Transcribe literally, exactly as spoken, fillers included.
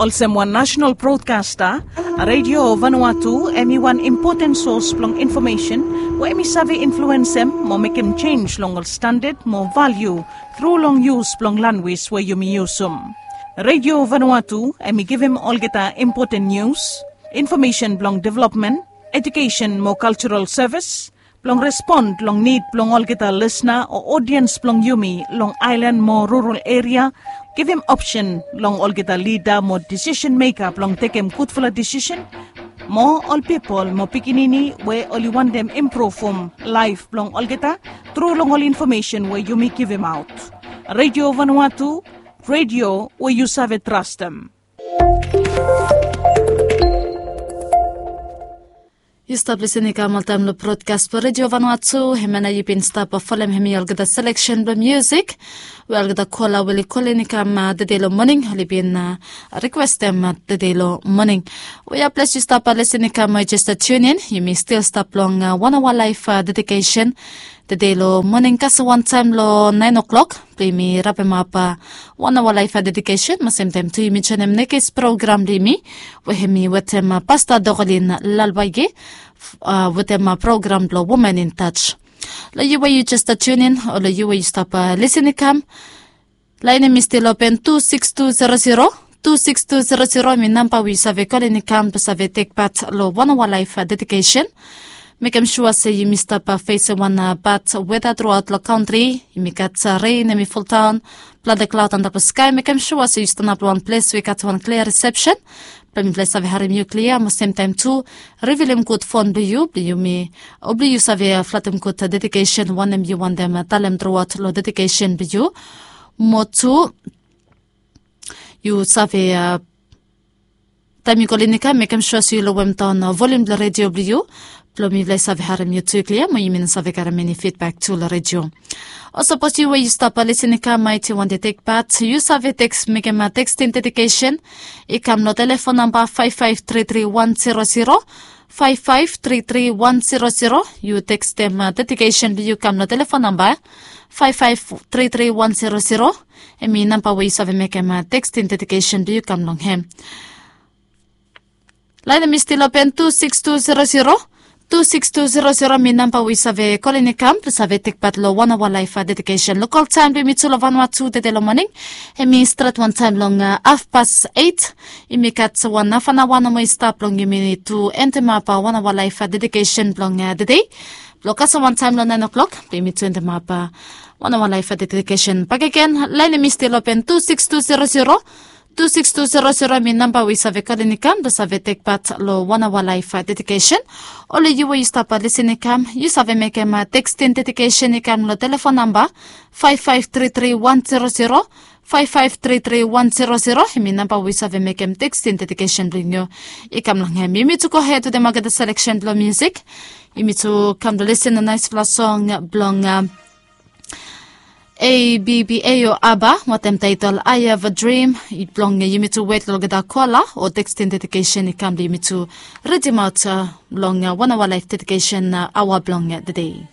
Olsem wan nasenal brodkasta, Redio Vanuatu em i wan impoten sos blong infomesen we em i save influensem mo mekem jenis long ol standad mo valiu tru long yus blong lanwis we yumi yusum. Redio Vanuatu em i givim olgeta impoten nius, infomesen blong developmen, ejukesen mo kaljaral sevis, blong respon long nid blong olgeta lisna o odiens blong yumi long aelan mo rural eria, givim opsen long olgeta lida mo disisen meka blong tekem gudfala disisen, mo ol pipol mo pikinini we oli wantem impruvum laef blong olgeta tru long ol infomesen we yumi givimaot. Redio Vanuatu, redio we yu save trastem. Yu stap lisin i kam oltaem long brodkas blong Redio Vanuatu, hemia nao yu bin stap folem hemi olgeta seleksen blong miusik we olgeta kola we oli kolin i kam tede long moning oli bin rikwestem tede long moning. We ya ples yu stap lisin i kam mo jes tunin, yumi stil stap long wan aoa laef dedikesen tede long moning kasem wantaem long naen oklok blong yumi rapemap wan aoa laef dedikesen mo semtaem tu yumi joenem nekis program blong yumi we hemi wetem pasta Dokolin Lalwaige wetem program blong Women in Touch. Long yu we yu jes tunin o long yu we yu stap lisin i kam, laen hemi stil open tu sikis tu zero zero. Tu sikis tu zero zero hemi namba we yu save kolin i kam blong save tekpat long wan aoa laef dedikesen. Mekem sua se yumi stap fesem wan bad weta truaot long kantri. Yumi gat ren hemi fuldaon, plante klaod antap long skae. Mekem sua se yu stanap long wan ples we i gat wan klia risepsen blong mifala i save harem yu klia mo semtaem tu rivilim gud fon blong yu blong yumi o blong yu save flatem gud dedikesen wanem yu wantem talem truaot long dedikesen blong yu. Mo tu yu save taem yu kolin i kam mekem sua se yu lowemdaon volium blong redio blong yu blong mifala i save harem yu tu klia mo yumi no save garem eni fidbak tu long redio. O sapos yu we yu stap lisin i kam maet yu wantem tekpat, yu save teks mekem teksting dedikesen i kam long telefon namba faef faef tri tri wan zero zero. Faef faef tri tri wan zero zero. Yu tekstem dedikesen blong yu kam long telefon namba faef faef tri tri wan zero zero. Hemi namba we yu save mekem teksting dedikesen blong yu kam long hem. Laen hemi stil open tu sikis tu zero zero. Tu sikis tu zero zero hemi namba we yu save kolin i kam blong save tekpat long wan aoa laef dedikesen. Lokol taem blong yumi tu long Vanuatu tede long moning hemi stret wantaem long hafpas eit. Yumi gat wan hafanaoa nomo i stap blong yumi tu endemap wan aoa laef dedikesen blong tede blong kasem wantaem long naen oklok blong yumi tu endemap wan aoa laef dedikesen bakegen. Laen hemi stil open tu sikis tu zero zero. Tu sikis tu zero zero hemi namba we yu save kolin i kam blong save tekpat long wan aoa laef dedikesen. O long yu we yu stap lisin i kam yu save mekem teksting dedikesen i kam long telefon namba faef faef tri tri wan zero zero. Faef faef tri tri wan zero zero hemi namba we yu save mekem teksting dedikesen blong yu i kam long hem. Yumi tu gohed wetem olgeta seleksen blong miusik. Yumi tu kam long lisin long naesfala song blong A B B A o ABBA wetem taetol I Have a Dream. Blong yumi tu wet long olgeta kola o teksting dedikesen i kam blong yumi tu ridimaot long wan aoa laef dedikesen aoa blong tede.